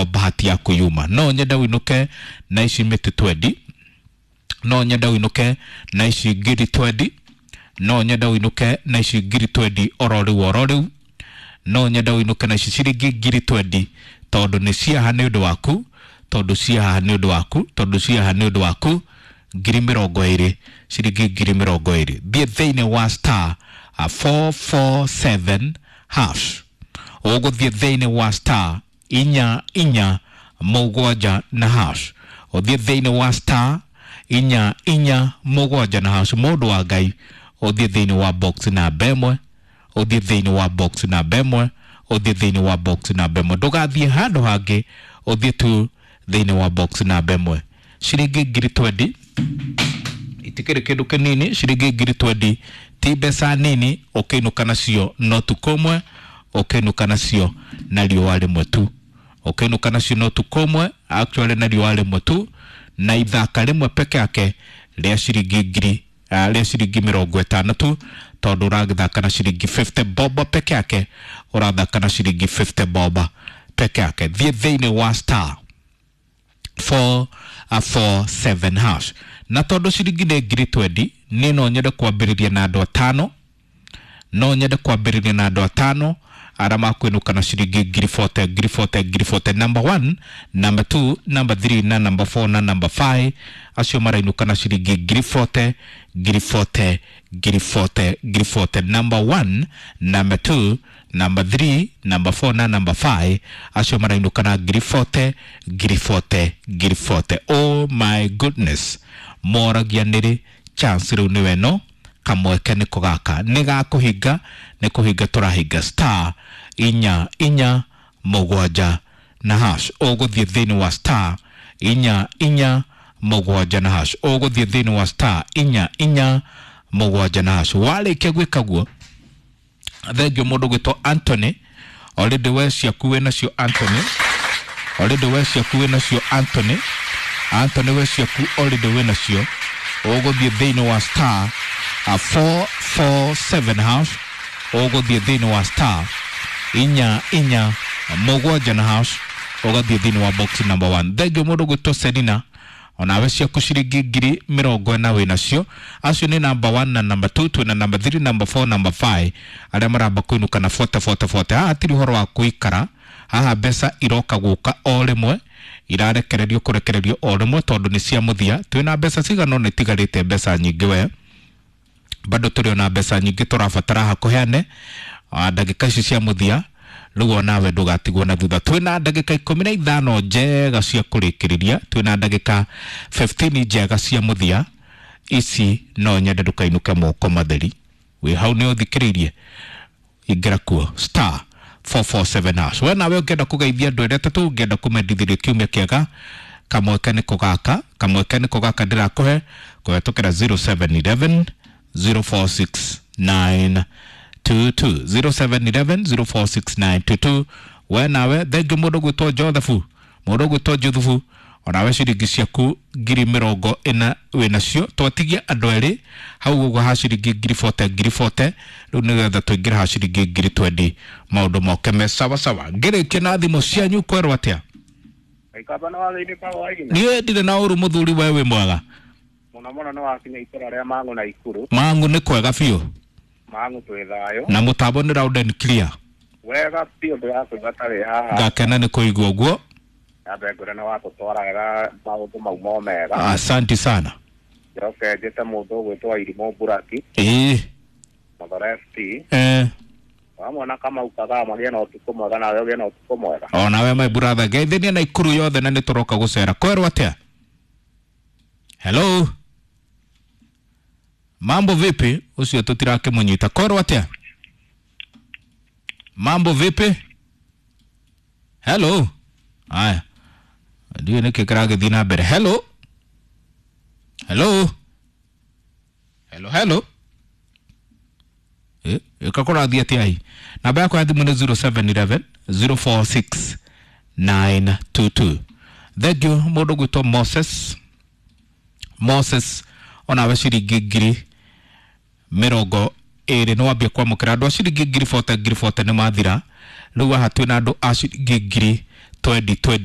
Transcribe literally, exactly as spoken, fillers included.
niho bahati yaku yuma. No nyende winuke na ici mĩtĩ twendi, no nyende winuke na ici ngiri twendi, no nyende winuke na ici ngiri twendi oro rĩu oro rĩu, no nyende winuke na ici ciringi ngiri twendi, tondũ nĩ ciaha nĩ ũndũ waku, tondũ ciaha nĩ ũndũ waku, tondũ ciaha nĩ ũndũ waku. Ngiri mĩrongo ĩrĩ, ciringi ngiri mĩrongo ĩrĩ. Thiĩ thĩinĩ wa star uh, four four seven hash, ũgũthiĩ thĩinĩ wa star inya inya mũgwanja na hash, ũthiĩ thĩinĩ wa star inya inya mũgwanja na hash. Mũndũ wa Ngai, ũthiĩ thĩinĩ wa box namba ĩmwe, ũthiĩ thĩinĩ wa box namba ĩmwe, ũthiĩ thĩinĩ wa box namba ĩmwe, ndũgathiĩ handũ hangĩ, ũthiĩ tu thĩinĩ wa box namba ĩmwe. Ciringi ngiri twendi itikĩrĩ kĩndũ kĩnini, ciringi ngiri twendi ti mbeca nini, ũkĩinũka nacio no tukũ ũmwe, ũkĩinũka nacio na riũa rĩmwe tu, ũkĩinũka nacio no tukũ ũmwe actually na riũa rĩmwe tu, na ithaka rĩmwe peke yake rĩa ciringi ngiri uh, rĩa ciringi mĩrongo ĩtano tu, tondũ ũragĩthaka na ciringi fifty bob peke yake, ũrathaka na ciringi fifty bob peke yake. Thiĩ thĩinĩ wa star four four seven hash. Na tondũ ciringi nĩ ngiri twendi, niĩ no nyende kwambĩrĩria na andũ atano, no nyende kwambĩrĩria na andũ atano arĩa makwĩnũka na ciringi ngiri forty, ngiri forty, ngiri forty. Number one, number two, number three na number four na number five, acio marainũka na ciringi ngiri forty, ngiri forty, ngiri forty, ngiri forty. Number one, number two, number three, number four na number five, acio marainũka na ngiri forty, ngiri forty, ngiri forty. Oh my goodness, moragia nĩrĩ chance rĩu nĩwe no kamweke nĩko gaka nĩ gakũhinga, nĩ kũhinga tũrahinga. Star inya inya mũgwanja na hash, ũgũthiĩ thĩinĩ wa star inya inya mũgwanja na hash, ũgũthiĩ thĩinĩ wa star inya inya mũgwanja na hash. Warĩkia gwĩka guo, thengio mũndũ gwĩtwo Anthony, already we ciaku wĩ nacio Anthony, already we ciaku wĩ nacio Anthony, Anthony we ciaku already wĩ nacio, ũgũthiĩ thĩinĩ wa star uh, four four seven hash, ũgũthiĩ thĩinĩ wa star inya inya mũgwanja na hash, ũgathiĩ thĩinĩ wa box number one. Thengio mũndũ gwĩtwo Selina, onawe ciaku ciringi ngiri mĩrongo ĩna wĩ nacio. Acio nĩ number one na number two, twĩna number three, number four, number five, arĩa maramba kũinũka na forty forty forty. Haha hatirĩ ũhoro wa kũikara, haha mbeca iroka gũka o rĩmwe, irarekererio kũrekererio o rĩmwe tondũ nĩ cia mũthia. Twĩna mbeca cigana ũna itigarĩte, mbeca nyingĩ we, bado tũrĩ ona mbeca nyingĩ tũrabatara haha kũheane ndagĩka ici cia mũthia. Rĩu onawe ndũgatigwo na thutha. Twĩna ndagĩka ikũmi na ithano njega cia kũrĩkĩrĩria, twĩna ndagĩka fifteen njega cia mũthia. Ici no nyende ndũkainũke moko matheri. Wĩ hau nĩ ũthikĩrĩirie, ingĩra kuo star four four seven hash. We nawe ũngĩenda kũgeithia andũ erĩ atatũ, ũngĩenda kũmendithĩria kiumia kĩega, kamweke nĩko gaka, kamweke nĩko gaka ndĩrakũhe kũhetũkĩra zero seven eleven zero four six nine two two, zero seven eleven zero four six nine two two. We nawe thengio mũndũ gwĩtwo Joseph, mũndũ gwĩtwo Joseph, onawe ciringi ciaku ngiri mĩrongo ĩna wĩ nacio. Twatigia andũ erĩ hau ũguo ha ciringi ngiri forty, ngiri forty, rĩu nĩgetha tũingĩre ha ciringi ngiri twendi, maũndũ moke me sawa sawa. Ngĩrĩkia na thimũ cianyu kwerwo atĩa? Niĩ ndirĩ na ũru mũthuri, we wĩ mwega mũno mũno. Nĩ wakinya itũra rĩa Mang'u na Ikuru. Mang'u nĩ kwega biũ. Mang'u twĩ thayũ. Na mũtambo nĩ round and clear. Wega biũ, ndĩrakũigua tarĩ haha. Ngakena nĩ kũigua ũguo. Nyambe ngwĩre nĩ watũtwara wega, maũndũ mau mo mega. Asante sana. Njoke njĩte mũndũ ũgwĩtwo Irimũ Mburaki. Ĩĩ. Mathare F C. Eh. Wamwona Kamau Kathaa, magĩe na ũtukũ mwega, nawe ũgĩe na ũtukũ mwega. Onawe my brother, ngeithĩria na Ikuru yothe na nĩ tũroka gũcera. Kwerwo atĩa? Hello. Mambo vipi? Ucio tũtirakĩmũnyita. Kwerwo atĩa? Mambo vipi? Hello. Aya. Ndiũ nĩkĩ kĩragĩthiĩ na mbere. Hello. Hello. Hello, hello. Eh, ĩka kũrathiĩ atĩa hi? Namba yakwa ya thimũ nĩ zero seven eleven zero four six nine two two. Thank you mũndũ gwĩtwo Moses. Moses onawe ciringi ngiri mĩrongo ĩrĩ nĩ wambia kwamũkĩra. Andũ a ciringi ngiri forty, ngiri forty nĩ mathira. Rĩu haha twĩna andũ a ciringi ngiri twenty, twenty.